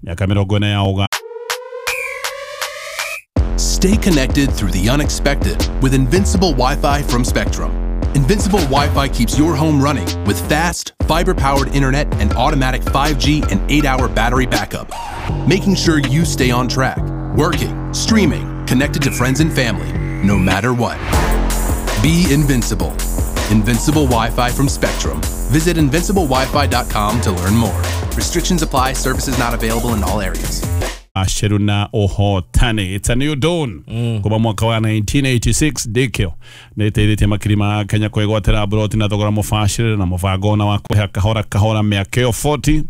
Mĩaka 40 ya ũga. Stay connected through the unexpected with Invincible Wi-Fi from Spectrum. Invincible Wi-Fi keeps your home running with fast, fiber-powered internet and automatic 5G and 8-hour battery backup, making sure you stay on track, working, streaming, connected to friends and family, no matter what. Be invincible. Invincible Wi-Fi from Spectrum. Visit invinciblewifi.com to learn more. Restrictions apply. Services not available in all areas. Aceru na ũhotani. It's a new dawn. Kuma mwaka wa 1986 Dikio nĩ ĩteithĩtie makiri ma Kenya kwĩgwatĩra mburoti na thogora mũbacĩrĩre na mũbango ona wa kũrĩha kahora kahora mĩaka ĩyo 40.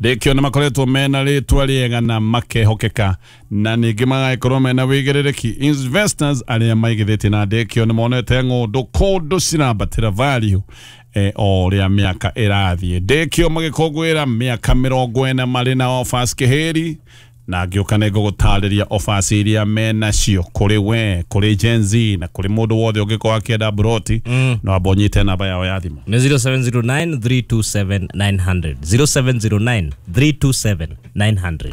Dikio nĩ makoretwo mena rĩtwa rĩega na makehokeka na ningĩ magagĩkorwo mena wĩigĩrĩrĩki. Investors arĩa maigithĩtie na Dikio nĩ monete ng'ũndũ kũndũ cirambatĩra value o ũrĩa mĩaka ĩrathiĩ. Dikio magĩkũngũĩra mĩaka 40 marĩ na offers kĩhĩri, na ngĩũka nĩ ngũgũtarĩria offers iria menacio kũrĩ we, kũrĩ Gen Z na kũrĩ mũndũ wothe ũngĩkorwo akĩenda mburoti. No amba ũnyite namba yao ya thimũ. Nĩ 0709 327 900. 0709 327 900.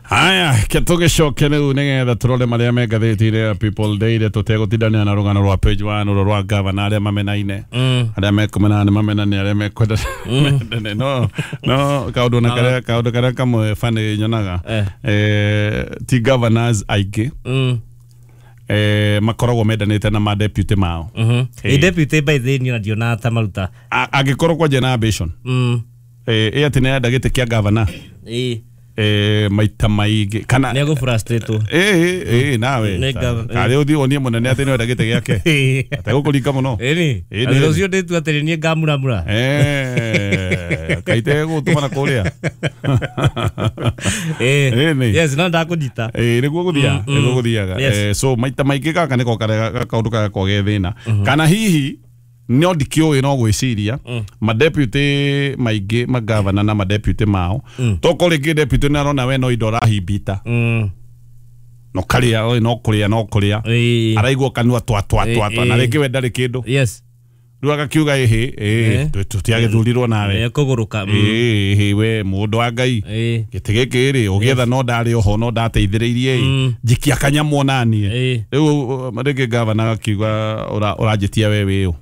Haya, ke tũgĩcoke rĩu nĩgetha tũrore marĩa me ngathĩti-inĩ ya People Daily tũtegũtindania na rũgano rwa page 1 rũrũ rwa gavana arĩa mamenaine, arĩa mekũmenana nĩ mamenane, arĩa mekwenda mendane. No no kaũndũ na karĩa kaũndũ karĩa kamwe bani nyonaga, ti governors aingĩ makoragwo mendanĩte na ma deputy mao. Ĩ deputy by the niĩ ndionaga ta maruta. Angĩkorwo kwanja na ambition ĩ atĩ nĩ enda gĩtĩ kĩa governor maita maingĩ kana nĩ egũfrustrate. Ĩ nawe karĩ ũthiĩ wonie mũnene atĩ nĩwenda gĩtĩ gĩake ategũkũringa mũno. Ĩni rũciũ ndĩtua atĩrĩ niĩ ngamuramura kaite gũtũmana kũrĩa. Yes, no ndakũnyita. Nĩguo gũthiaga, nĩguo gũthiaga. So maita maingĩ gaka nĩko kaũndũ kagakorwo ge thĩna, kana hihi no ndikĩũĩ no gwĩciria madeputy maingĩ magavana na madeputy mao toko rĩngĩ deputy nĩ arona we no indo ũrahimbita, no karĩa no kũrĩa no kũrĩa araigua kanua twa twa twa twa na rĩngĩ we ndarĩ kĩndũ. Yes. Rĩu agakiuga ĩhĩ tũtiagĩthurirwo nawe kũgũrũka ĩhĩ we mũndũ wa Ngai gĩtĩ gĩkĩ rĩ ũgĩetha no ndarĩ oho no ndateithĩrĩirie njikia kanyamũ onaniĩ. Rĩu rĩngĩ gavana agakiuga ũranjĩtia we wĩũ,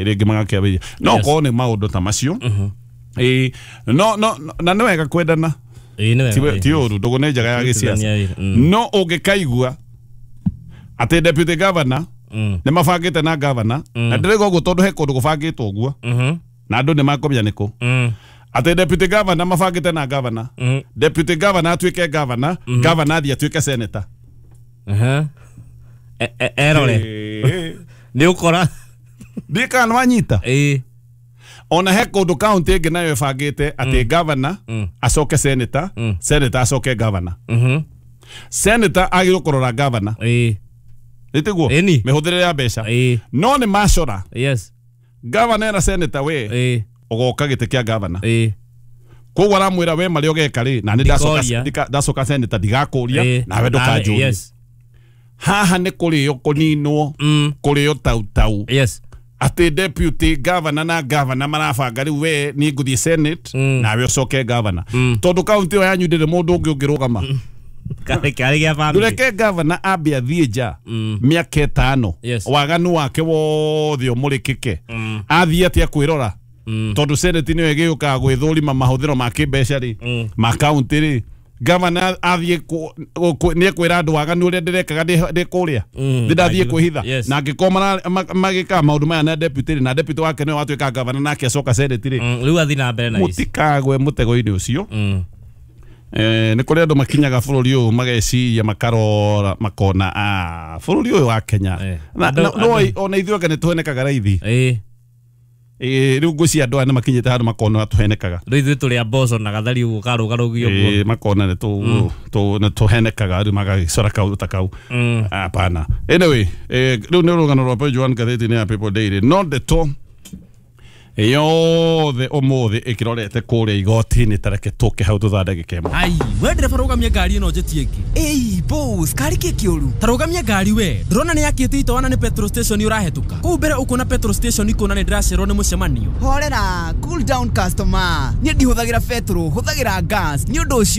rĩngĩ magakĩambĩrĩria no korwo nĩ maũndũ ta macio. No no na nĩ wega kwendana, ti ũru, ndũgũ nĩ njega ya gĩciaca, no ũngĩkaigua atĩ deputy governor nĩ mabangĩte na governor, na ndĩrauga ũguo tondũ he kũndũ gũbangĩtwo ũguo na andũ nĩ makũmenya nĩkũ, atĩ deputy governor mabangĩte na governor, deputy governor atuĩke governor, governor athiĩ atuĩke senator. Erore nĩ ũkora ndiĩ kana nĩ wanyita. Ona he kũndũ kaunti ĩngĩ nayo ĩbangĩte atĩ governor acoke senator, senator acoke governor. Senator agĩrĩirwo kũrora governor nĩtiguo mĩhũthĩre ya mbeca, no nĩ macora. Yes. Governor na senator we ũgoka gĩtĩ kĩa governor, koguo aramwĩra we marĩa ũgeka rĩ na nĩ ndacoka senator ndigakũria nawe ndũkanjũrie. Haha nĩ kũrĩo kũninwo, kũrĩo tautau. Yes. Atĩ deputy governor na governor marabanga rĩu we niĩ ngũthiĩ senate nawe ũcoke governor, tondũ kaunti ĩyo yanyu ndĩrĩ mũndũ ũngĩ ũngĩrũgama. Ndũreke governor ambe athiĩ nja mĩaka 5 waganu wake wothe ũmũrĩkĩke, athiĩ atĩa kwĩrora, tondũ senate nĩyo ĩgĩũkaga gwĩthũrima mahũthĩro ma kĩmbeca rĩ ma kaunti rĩ. Governor athiĩ nĩ ekwĩra andũ waganu ũrĩa ndĩrekaga ndĩ kũrĩa ndĩndathiĩ kwĩhitha, na angĩkorwo magĩkaga maũndũ maya na deputy rĩ, na deputy wake nĩwe watuĩka governor nake acoka senate rĩ, rĩu athiĩ na mbere na ici mũtikagwe mũtego-inĩ ũcio. Nĩ kũrĩ andũ makinyaga bũrũri ũyũ mageciria makarora makona bũrũri ũyũ wa Kenya no ona ithuĩ anga nĩ tũhenekaga raithi. Rĩu ngwĩciria andũ aya nĩ makinyĩte handũ makona tũhenekaga. Rĩu ithuĩ tũrĩ a mboco na gathari ũguo karũgarũgio ũguo. Makona nĩ tũhenekaga rĩu magagĩcora kaũndũ ta kau. Hapana. Anyway, rĩu nĩ rũgano rwa page 1 ngathĩti-inĩ ya People Daily. No ndeto yothe ũmũthĩ ĩkĩrorete kũrĩa igoti-inĩ, tareke tũke hau thutha ndagĩka ĩmwe. Ai, we ndereba rũgamia ngari ĩno njĩtie ĩngĩ. Ĩi boss, kari kĩ kĩũru? Ta rũgamia ngari we, ndĩrona nĩ yakĩte itoana nĩ petrol station ũrahetũka. Kũu mbere ũkuona petrol station ikuona nĩ ndĩracererwo nĩ mũcemanio. Horera, cool down customer. Niĩ ndihũthagĩra petrol, hũthagĩra gas. Nĩ ũndũ ũcio